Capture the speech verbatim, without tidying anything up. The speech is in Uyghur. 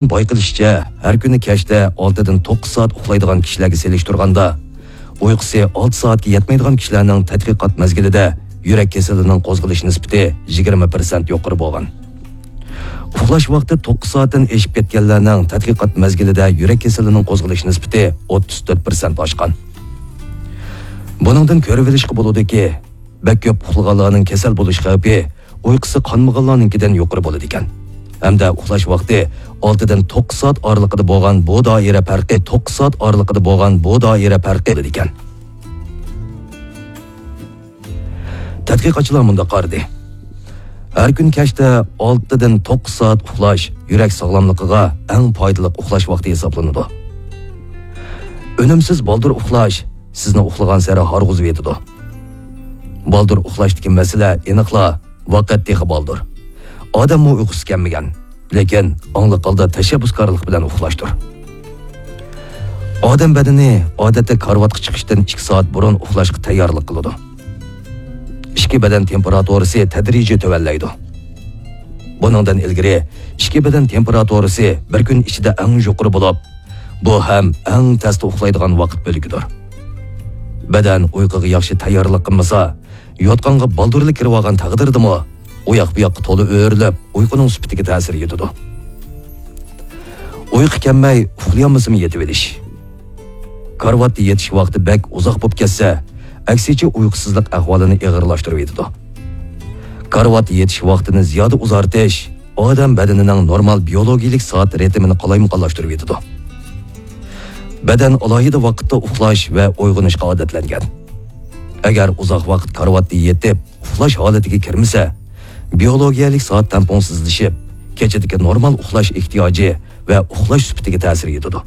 بايقىلىشىچە، ھەر كۈنى كەچتە ئالتىدىن توققۇز سائەت ئۇخلايدىغان كىشىلەرگە سېلىشتۇرغاندا، ئۇيقۇسى ئالتە سائەتكە يەتمەيدىغان كىشىلەرنىڭ تەتقىقات مەزگىلىدە يۈرەك كېسىلىنىڭ قوزغىلىش نىسبىتى يىگىرمە پىرسەنت يۇقىرى بولغان. ئۇخلاش ۋاقتى توققۇز سائەتتىن ئېشىپ كەتكەنلەرنىڭ تەتقىقات مەزگىلىدە يۈرەك كېسىلىنىڭ قوزغىلىش نىسبىتى ئوتتۇز تۆت پىرسەنت ئاشقان. بۇنىڭدىن كۆرۈۋېلىشقا بولىدۇكى، بەك كۆپ ئۇخلىغانلارنىڭ كېسەل بولۇش خەۋپى ئۇيقۇسى قانمىغانلارنىڭكىدىن يۇقىرى بولىدىكەن. ھەمدە ئۇخلاش ۋاقتى ئالتىدىن توققۇز سائەت ئارىلىقىدا بولغان بۇ دائىرە پەرقى، توققۇز سائەت ئارىلىقىدا بولغان بۇ دائىرە پەرقى بولىدىكەن. تەتقىقاتچىلار مۇنداق قارىدى. ھەر كۈن كەچتە ئالتىدىن توققۇز سائەت ئۇخلاش يۈرەك ساغلاملىقىغا ئەڭ پايدىلىق ئۇخلاش ۋاقتى ھېسابلىنىدۇ. ئۈنۈمسىز بالدۇر ئۇخلاش سىزنى ئۇخلىغانسېرى ھارغۇزۇۋېتىدۇ. بالدۇر ئۇخلاشتىكى مەسىلە ئېنىقلا ۋاقىت تېخى بالدۇر. ئادەممۇ ئۇيقۇسى كەلمىگەن، لېكىن ئاڭلىق ھالدا تەشەببۇسكارلىق بىلەن ئۇخلاشتۇر. ئادەم بەدىنى ئادەتتە كارىۋاتقا چىقىشتىن ئىككى سائەت بۇرۇن ئۇخلاشقا تەييارلىق قىلىدۇ. ئىچكى بەدەن تېمپېراتۇرىسى تەدرىجىي تۆۋەنلەيدۇ. بۇنىڭدىن ئىلگىرى ئىچكى بەدەن تېمپېراتۇرىسى بىر كۈن ئىچىدە ئەڭ يۇقىرى بولۇپ، بۇ ھەم ئەڭ تەستە ئۇخلايدىغان ۋاقىت بۆلىكىدۇر. بەدەن ئۇيقۇغا ياخشى تەييارلىق قىلمىسا، يوتقانغا بالدۇرلا كىرىۋالغان تەقدىردىمۇ، ئۇ ياق بۇ ياققا تولا ئۆرۈلۈپ، ئۇيقۇنىڭ سۈپىتىگە تەسىر يېتىدۇ. ئۇيقۇ كەلمەي، ئۇخلىيالمىسىمۇ يېتىۋېلىش. كارىۋاتتا يېتىش ۋاقتى بەك ئۇزاق بولۇپ كەتسە، ئەكسىچە ئۇيقۇسىزلىق ئەھۋالىنى ئېغىرلاشتۇرۇۋېتىدۇ. كارىۋاتتا يېتىش ۋاقتىنى زىيادە ئۇزارتىش ئادەم بەدىنىنىڭ نورمال بىيولوگىيىلىك سائەت رىتىمىنى قالايمىقانلاشتۇرۇۋېتىدۇ. بەدەن ئالاھىدە ۋاقىتتا ئۇخلاش ۋە ئويغىنىشقا ئادەتلەنگەن. ئەگەر ئۇزاق ۋاقىت كارىۋاتتا يېتىپ، ئۇخلاش ھالىتىگە كىرمىسە، بىيولوگىيەلىك سائەت تەڭپۇڭسىزلىشىپ، كېچىدىكى نورمال ئۇخلاش ئېھتىياجى ۋە ئۇخلاش سۈپىتىگە تەسىر يېتىدۇ.